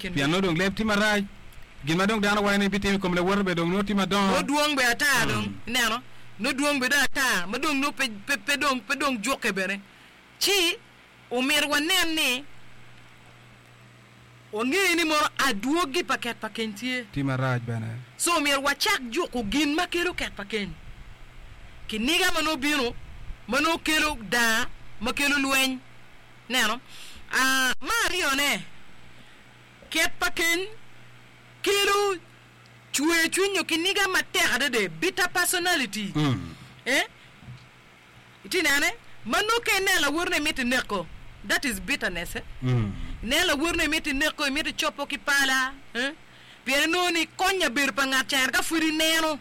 kin Pien nongo dong leb tye marac, gin ma dong dano waco ni bitimo i kom lawote bene dong nongo tye madongo. Nongo dwong bene ata dong, ineno, nongo dwong bene dong ata ma dong nongo pe, pe, pe dong, pe dong jukke bene. Ci omyero wanen ni wange ni mono adwogi pa ket pa keny tye. Tye marac bene. So omyero wacak juko gin ma kelo ket pa keny. Kiniga ma nongo bino, ma nongo kelo daa, ma kelo lweny. Neno. A Me aryone, ket pa keny kelo cwer cwiny nyo kiniga matek adada, bitter personality. Eh? Itye nene? Ma nongo ka ineno lawotone imito ineko, that is bitterness. Eh? Ineno lawotone imito ineko, imito icopo ki pala. Eh? Pien inongo ni konya bedo pa ngat ca ka pud ineno.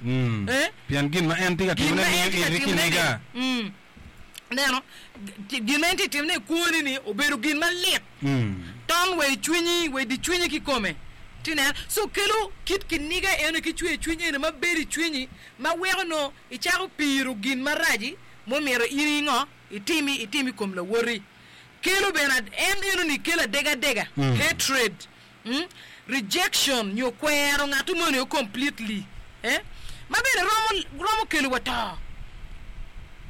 Eh? Pien gin ma en tye ka Gin timone ma en miyo tye ka iti timone-ni. kiniga. Mm. Ineno, gin ma en tye ka timone i kwoni-ni obedo gin malit. Ton wa i cwinyi, wa i di cwinyi kikome. Itye ka neno? So kelo kit kiniga eno ki cwer cwiny eno ma bedo i cwinyi ma weko nongo icako piro gin maraci ma omyero in ingo itimi, itim i kom lawoti. Kelo bene en eno-ni kelo adegadega, hatred. Rejection nyo kwero ngat moni o completely eh ma bene romo romo kelo wa to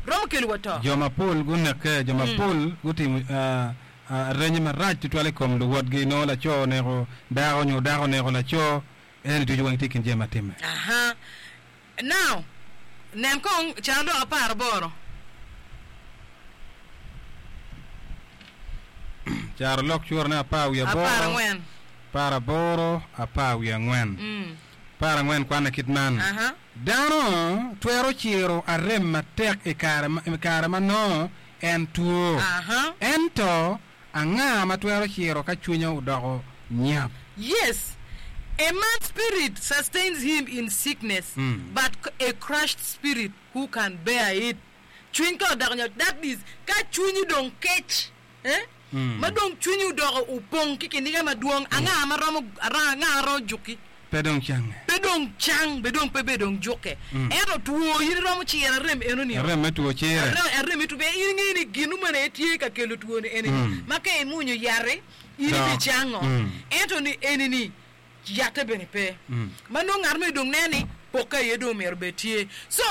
romo kelo wa to. Jo mapol gunekke, jo mapol gutimo arenye marac tutwal i kom luwotgi. Nongo laco oneko dako nyo dako oneko laco, eni ducu weng tye i kin jami ma timme. Aha. Now, nen kong carolok aparaboro. Carolok curane apar wiye aboro, Aparangwen. aparaboro, apar wiye angwen. Aparangwen kwanne kit man, Aha. Dano twero ciro arem matek i kare ma, i kare ma nongo en two. Aha. Ento Anga ma twero ciro ka cwinye odoko nyap? Yes, a man's spirit sustains him in sickness, but a crushed spirit who can bear it? Cwiny ka odoko nyap, that is, ka cwinyi dong kec, eh, ma dong cwinyi odoko opong ki kiniga madwong, anga ma romo, anga ma romo juki? Pe dong cange. Pe dong cang, be dong pe be dong jukke. Ento two in iromo ciro arem enoni o. Arem me two cire. Arem me two, pien in ingeyo ni gin moni aye tye ka kelo two ni eni-ni, ma ka imwonyo yat-ti, in ibicango. Ento ni eni-ni, yatte bene pe. Ma nongo ngat moni dong neno ni pokke aye dong omyero obed tye. So,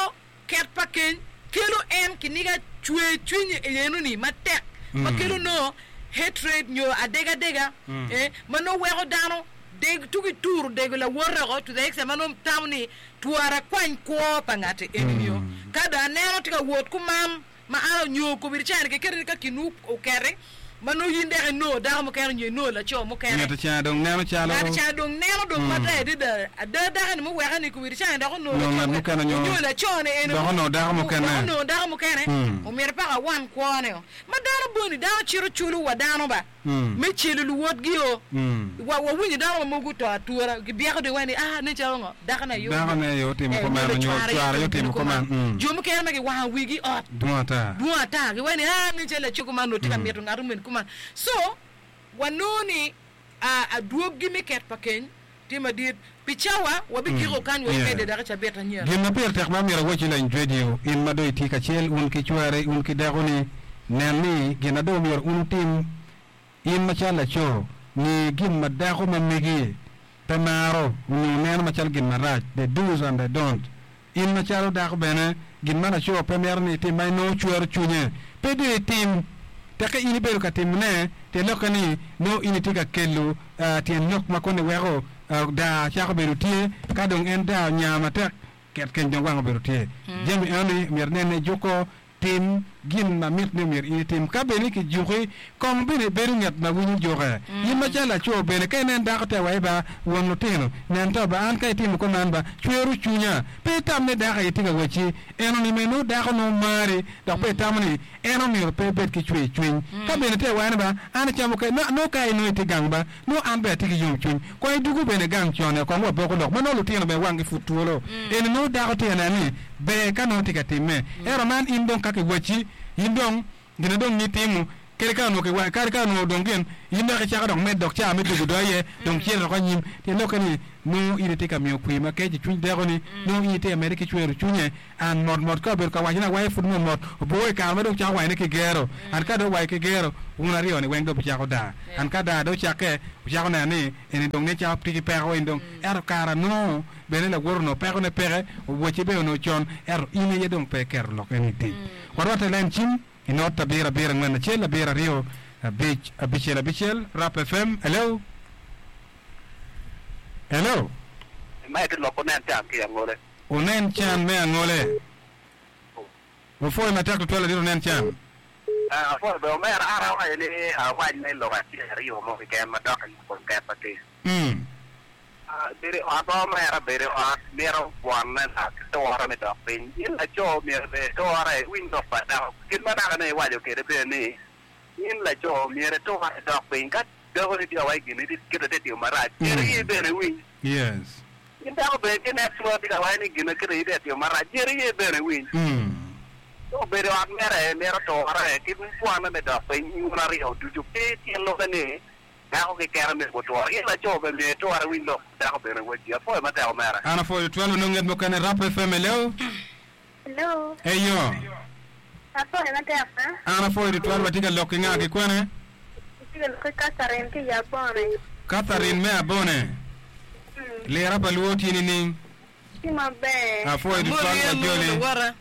Ket pa keny kelo en kiniga cwer cwiny i enoni matek ma kelo nongo hatred nyo adegadega eh, ma nongo weko dano deg tugi turo dego lawote oko to the extent ma nongo tamo ni twara akwany kwo pa ngati enini o ka dong aneno tye ka wot kuman ma an onyo kobedi cani keketi ni ka kinwu oketi ma nongo in dok inongo dako mukene nyo inongo laco mukene. Ngat ca dong neno calo. Ngat ca dong neno dong matek adada. Ada dako-ni muweke ni kowiri cani dok onongo Onongo laco ngat mukene nyo onyo laco-ni eni dok onongo dako mukene. Dok onongo dako mukene. Omyero paka awan kwone o. Ma dano boni dano cito culo wa dano ba me celo luwotgi o. Wa wawinyo dano ma mogo oto atura gibyeko dong iwaci ni ah nen calo ngo dakone aye Dakone aye otimo eh, kuman nyo onyo cware aye cware aye otimo otimo kuman. kuman. Jo mukene ma giwango wigi i ot Dwong ata. dwong ata giwaco ni ah nen calo laco kuman onongo tye ka mito ngat omeni kuman. So wanongo ni ah, adwogi me ket pa keny tye madit. Pi cawa wabigiko kany wa imedde dok i cabit anyira. Gin ma pire tek ma myero awacci lany jwedio, in ma dong itye kacel wun ki cwari, wun ki dakoni, nen ni gin na dong myero wun wutim In macalo laco, nge gin ma dako ma megi pe maro onyo neno macalo gin marac, the do's and the don't. In macalo dako bene, gin ma laco pe mito ni itim ma inongo cwero cwinye, pe dong itim. Tekke in ibedo ka timone, tyen lokke ni nongo in itye ka kelo tyen lok ma koni weko daa cako bedo tye. Ka dong en daa onya matek, ket keny dong wang obedo tye. Jami enoni myero inen ni juko Tim gin ma mit ni myero in itim. Ka bed ni kijuki, kong bene ibedo ngat ma winyo juke. In macalo laco bene, ka inen dako te wa iba, won lutino, nen to ba, an ka itimo kuman ba, cwero cwinya. Pe itam ni dako aye tye ka wacci eno ni me nongo dako nongo mari, dok pe itamo ni en omyero pe ebed ki cwer cwiny. Ka bene te wa ni ba, an acamo ka, nongo ka inongo itye gang ba, Nongo an bene atye ki yomcwiny. Kong idwogo bene gang con-ni, kong waboko lok ma nongo lutino bene wanggi pud twolo. Eni nongo dako tye ka neno ni ber ka nongo tye ka timme. Ento man in dong ka kiwacci, in dong gin ma dong nitimo. Kadi ka onongo kiwaco, kadi ka onongo dong gin, in dok icako dok med dok caa me tugo do aye, dong cito dok anyim. Tyen lokke ni, nongo in itye ka miyo kwir makec i cwiny dako-ni, nongo in itye ka medde ki cwero cwinye. An mot mot ka obedo ka wacone awaca pud mot mot, oboo i kare ma dong cako wacone ki gero. An ka dong owaco ki gero, wun aryo-ni weng dong wucako daa. An ka daa dong ocakke, wucako neno ni eni dong nen calo tye ki peko eni dong. Ento kara nongo bene lawote onongo pekone peke, owacce bene onongo con, ento in aye dong pe iketo lok eni i tic. Warwatte i lain cim. I not abiro abiro angwen acel abiro aryo abic abicel abicel Rap FM Hello Hello. Ma iti lok unen can ki angole. Unen can me angole. Wapwoyo matek tutwal ladit unen can. Apwoyo bene omera an awaco ni awac me lok acel aryo mo keken madok i kom ket ma tye. Bedo i ot ma omera bedo i ot mito bwonne lak ki ture me dok piny. In laco myero bene iture iwiny lok pa dako. Kit ma dako ni iwaco kwede bene ni in laco myero iture idok piny. Ka dakoni tye ka waco gin ni kite tye timo marac, myero iye bene iwiny. In dako bene tye next one tye ka waco ni gin ma kite tye ka timo marac, myero iye bene iwiny. Ka obedo i ot mere mito ture ki bwonne me dok piny wun aryo ducu pe tyen lokke ni Dako kikene myero gutwor. In laco bene myero itwor iwiny lok pa dako bene wacci. Apwoyo matek omera. An apwoyo tutwal onongo nget mukene Rap FM hello. Hello. Eyo. Apwoyo matek ba. An apwoyo tutwal watye ka lok ki nga ki kwene? Itye ka lok ki Catherine ki i Abone. Catherine me Abone. Lira pa luo tye nining? Tye maber. Apwoyo tutwal wajoli.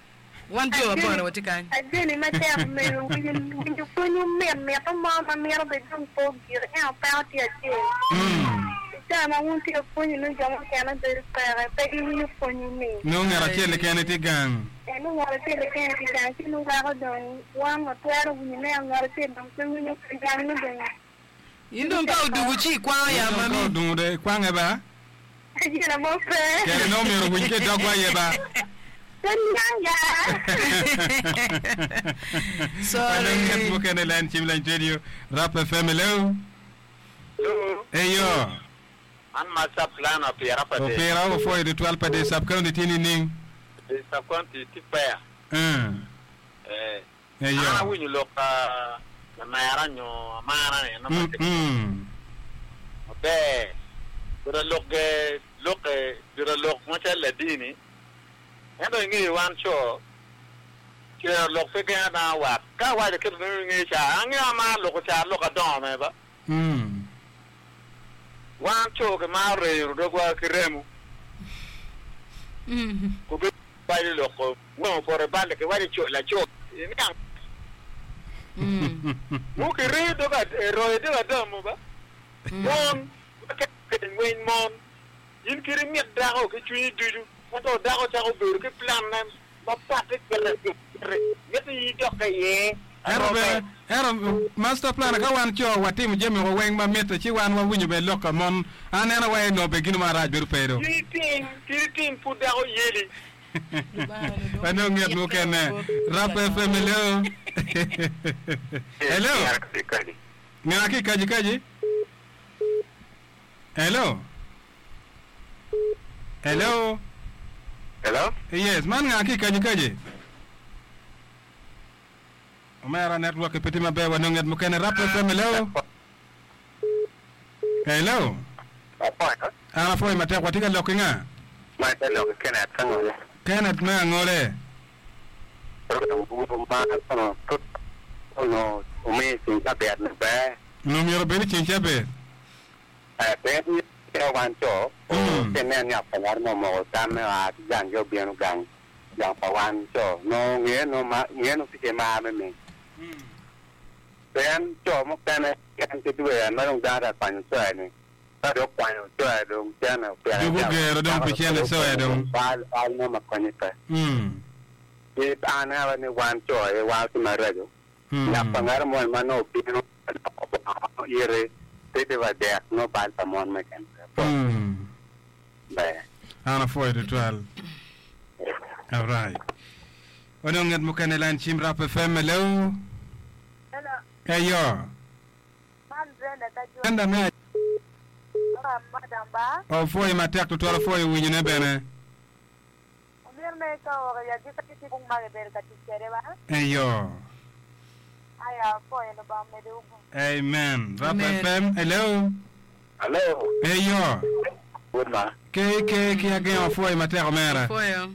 Wan jo ma bone watye kany. Ajoli matek omego winjo pwony mit mito mo ma mito bed dong pe ogik ento peko tye acel i cawa ma wun tye ka pwonyo nongo jo mukene bedo peke pe giwinyo pwonyi ni. Nongo ngat acel keken tye gang. Ee nongo ngat acel keken tye gang ci nongo weko dong wan watwero winyo ne ngat acel dong pe winyo pe gang nongo dong. In dong ka odugu ci ikwango ya In dong ka mami. odungu de ikwange ba. Gina mo pe. Kere nongo myero owiny ki i dogwa aye ba. Pe niang ya. Sorry. Anong nget mukene len cim lany radio Rap FM hello. Hello. Eyo. Man ma sub plan opira pa dee. Opira opwoyo tutwal pa dee sub county tye nining? Dee sub county tye fair. Eh. Eyo. An awinyo lok pa lamera nyo amara ni eno ma tye maber juta lok ge loke juta lok macalo ladini ento ingeyo wan co cero lok pe gengo dano wat ka awaco kit ma ingeyo ca angeyo amaro loko ca lok adongo me ba wan co kimaro reyo dogwa ki remo Waco lok weng opoto i balle ki waco co laco iniang mu ki reyo dog eroyo dog adamu ba mon ma keny weny mon in kit imit dako ki cwinyi ducu ento dako cako bedo ki plan ne ma patte kite miti in idokke iye Ento bene, ento master plan ka wan co watimo jami woko weng ma mitte ci wan wawinyo bene lok ka mon. An aneno wai onongo bene gino marac bedo pe do. Kit itim, kit itim pud dako yeli. Wanong nget mukene. Rap FM hello. Hello. Nga ki kaji kaji? Hello. Hello. Hello. Yes, man nga ki kaji kaji? Omera network pe tye maber wa nongo nget mukene rap FM hello. Hello. An apwoyo matek watye ka lok ki nga? Ma ka lok ki Kenneth Angole. Kenneth me Angole. Onongo omiyo ceng cabit ni ber. Onongo myero obed i ceng cabit. Ber ni wan co, ka inen ni apanyar mo omoko tamme oa ki gang gi obino gang. Gang pa wan co nongo nge nongo ma nge nongo tye ki mar me ming. Pien co mukene en ki dwe en ma dong dano tye ka kwanyo coya ni ka dong okwanyo coya dong cene opike Dong ogero dong pi cene coya dong. Bal bal mo ma konye pe. Ci an aneno ni wan co aye wan tye maraco. Lok pa ngat moni ma nongo obino ka loko bongo iti pe tye wa dek nongo bal pa mon meken pe. Ber. An apwoyo tutwal. Alright. Wanong nget mukene line cim Rap FM hello. Hello. Eyo. Man Brenda Kajwang. Brenda me Ora madam ba. Opwoyo matek tutwal opwoyo winyo ne bene. Omyero me ka oro ya gika ki bung ma gibedo ka tic kwede ba. Eyo. Aya apwoyo Lubanga omedowu gum. Amen. Rap Amen. FM, hello. Hello. Eyo. Good ma. Ke ke ki agengo apwoyo matek omera. Apwoyo.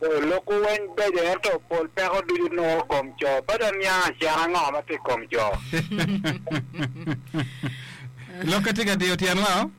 Loko weng beco ento pol peko ducu nongo kom co. Pe dong niang acen ango ma tye i kom co. Lokke tye ka diyo tyen wa o?